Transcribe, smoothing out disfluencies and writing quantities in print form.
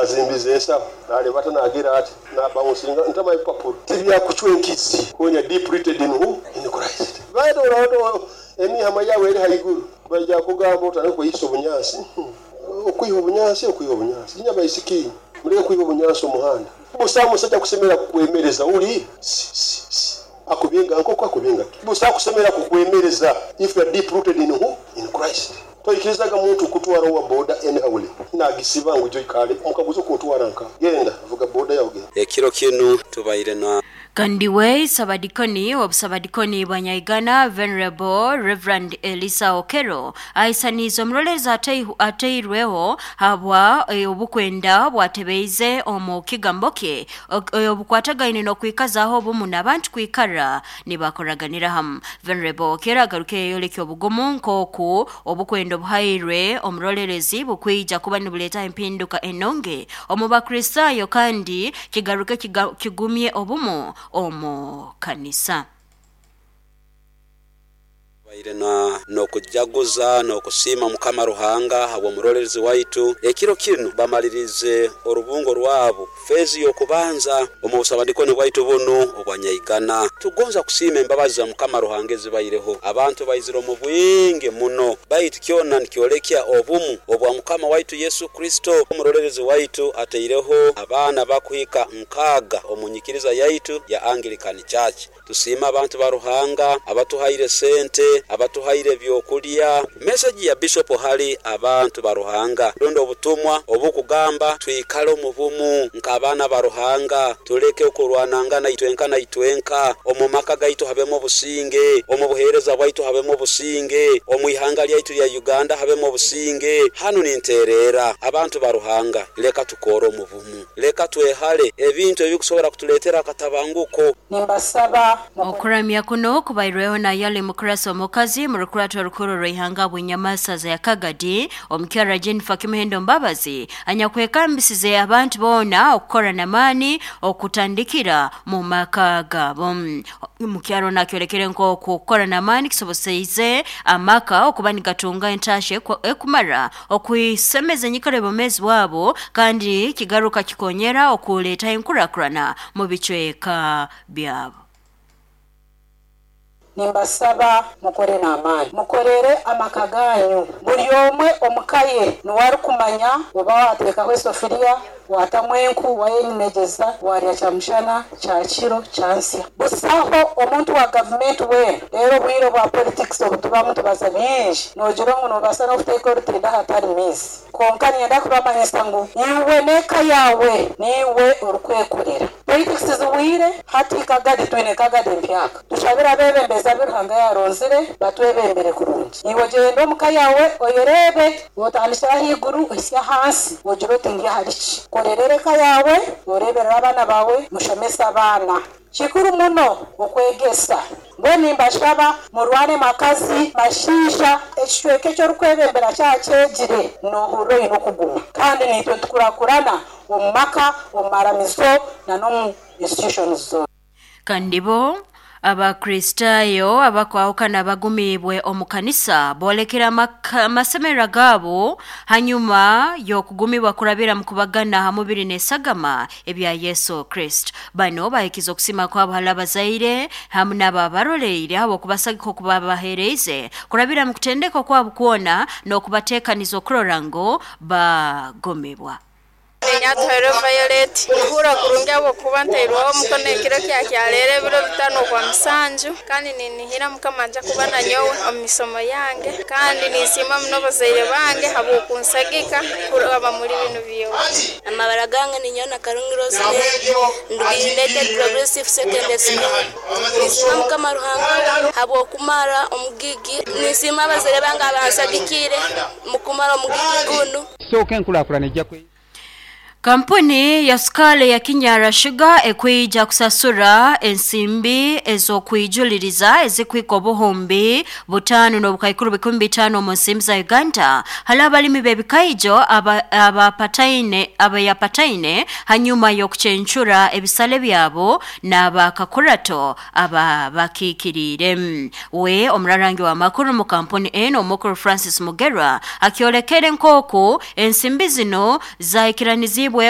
Azimbize ensaho nalebata nagira ati nabawunsinga ntama ebipapuro tibyakucwa enkizi when you're deep rooted in who? In Christ. Baita orato emihama yawe eri haiguru baija kugamba otandike kweyisa obunyansi, okwiha obunyansi, okwiha obunyansi nyabaisiki muleke kwiha obunyansi omuhanda busa musajja kusemera kukwemereza uli akubinga nkoko akubinga busa kusemera kukwemereza if you are deep rooted in who? In Christ. Toikirizaga muntu kutwara owa boda anyhow nagisiba ngu joikale mukaguza kuntwara nka genda vuga boda yawe genda. Ekiro kinu tubaire na Kandi we Sabadikoni obusabadikoni bwa Nyaigana Venerable Reverend Elisa Okero aisaniza omurolezi ateirweho habwa obukwenda bwatebeize omu kigambo kye obukwatagaine n'okwikazaho obumu n'abantu kwikara nibakoraganira hamu. Venerable Okero agaruke yeyoleka obugumu nk'oku obukwenda obuhairwe omurolelezi bukwija kuba nibuleeta empinduka enonge omu Bakristaayo kandi kigaruke kigumye obumu omu kanisa. Tubaire na n'okujaguza n'okusiima Mukama Ruhanga habw'omurolerezi waitu. Ekiro kinu bamalirize orubungo rwabo feezi y'okubanza omu busabadikoni bwaitu bunu obwa Nyaigana. Tugonza kusiima embabazi za Mukama Ruhanga ezibaireho. Abantu baizire omu bwingi muno, baitu kyona nikyolekya obumu obwa Mukama waitu Yesu Kristo. Omurolerezi waitu ataireho abaana bakuhika 6 omu nyikiriza yaitu ya Anglican Church. Tusiima abantu ba Ruhanga abatuhaire sente, abatuhaire ebyokulya. Meseji ya Bishop hali abantu ba Ruhanga, rundi obutumwa obukugamba twikale omu bumu nk'abaana ba Ruhanga, tuleke okurwanangana itwenka na itwenka, omu maka gaitu habemu obusinge, omu buheereza bwaitu habemu obusinge, omu ihanga lyaitu lya Uganda habemu obusinge. Hanu nintereera abantu ba Ruhanga, leka tukore omu bumu. Leka twehale ebintu ebikusobora kutuleetera akatabanguko. Nimbasaba mukore. Okuramya kuno kubairweho na Yali Mukurasa omukazi mu rukurato orukuru rw'ihanga Bwinyamasaza ya Kagadi omukyara Jennifer Kimuhendo Mbabazi anyakwekambisize abantu boona okukora n'amaani okutandikira mu maka gaabo. Omukyaro nakyolekere nk'oku okukora n'amaani kisoboseize amaka okuba nigatunga entasha ekumara okwisemeza enyikara y'obwomeezi bwabo kandi kigaruka kikonyera okuleeta enkurakurana mu bicweka byabo. Nimbasaba mukore n'amaani. Mukorere amaka ganyu. Buri omwe omu ka ye niwe arikumanya oba waateekaho esofuriya, waatamu enku, wayenyinegyeza, waarya kyamushana, kyakiro, kyansya. Busaho omuntu wa gavumenti weena. Reero obwire bwa politics obu tubamu tubaza bingi, noogira ngu noobaasa n'okuteeka orutindo ahatari maizi. Kwonka niinyenda kubamanyisa ngu iwe n'eka yaawe niiwe orikwekorera. Politics zihweire, hati Kagadi twine Kagadi empyaka. Tushabire abeebembezi abu Ruhanga yaaronzire batwebembere kurungi. Iwe ogyende omu ka yaawe oyereebe, otandikire ahaiguru ohitsye ahansi, ogire oti ndi ahari ki? Korerera eka yaawe, oreeberere abaana baawe, mushomese abaana. Kikuru muno okwegesa. Mbwenu nimbashaba murwane makazi, mashaija, ekicweka eki orikwebembera kyakyegire, noohurira oine okuguma. Kandi naitwe nitukurakurana omu maka, omu maramizo na n'omu institutions zoona. Kandi bo Abakristaayo abakwahukana bagumiibwe omu kanisa boolekere amasemererwa gaabo hanyuma y'okugumibwa kurabira mu kubagana ha mubiri n'esagama ebya Yesu Kristo. Bano bahikize okusiima kwabo hali abazaire hamu n'ababaroleire habw'okubasagika okuba babaheereize kurabira mu kutendekwa kwabo kwona n'okubateekaniza okurora ngu bagumibwa. Ninyatuhairwe Violet. Nihurra kurungi habwokuba ntairweho omukono ekiro kya kyaleero ebiro 5 okwa musanju, kandi ninihira Mukama nja kuba nanyowe omu misomo yange, kandi ninsiima muno abazaire bange habw'okunsagika kuraba muli binu byona. Amabara gange ninyowe Nakarungi Rosemary, nduga United Progressive Secondary School. Ninsiima Mukama Ruhanga habw'okumara omugigi. Ninsiima abazaire bange abansagikiire mukumara omugigi gunu. Kisooka enkurakurana ejja kwe. Kampuni ya sukaali ya Kinyara Sugar ekwija kusasura ensimbi ez'okwijuliriza ezikuhika 5,500,000 omu nsimbi za Uganda hali abalimi b'ebikaijo abayapataine hanyuma y'okucencura ebisale byabo n'abakakurato ababakiikiriire. We omurarangi w'amakuru mu kampuni enu omukuru Francis Mugerwa akyolekere nk'oku ensimbi zino zahikiranizibwe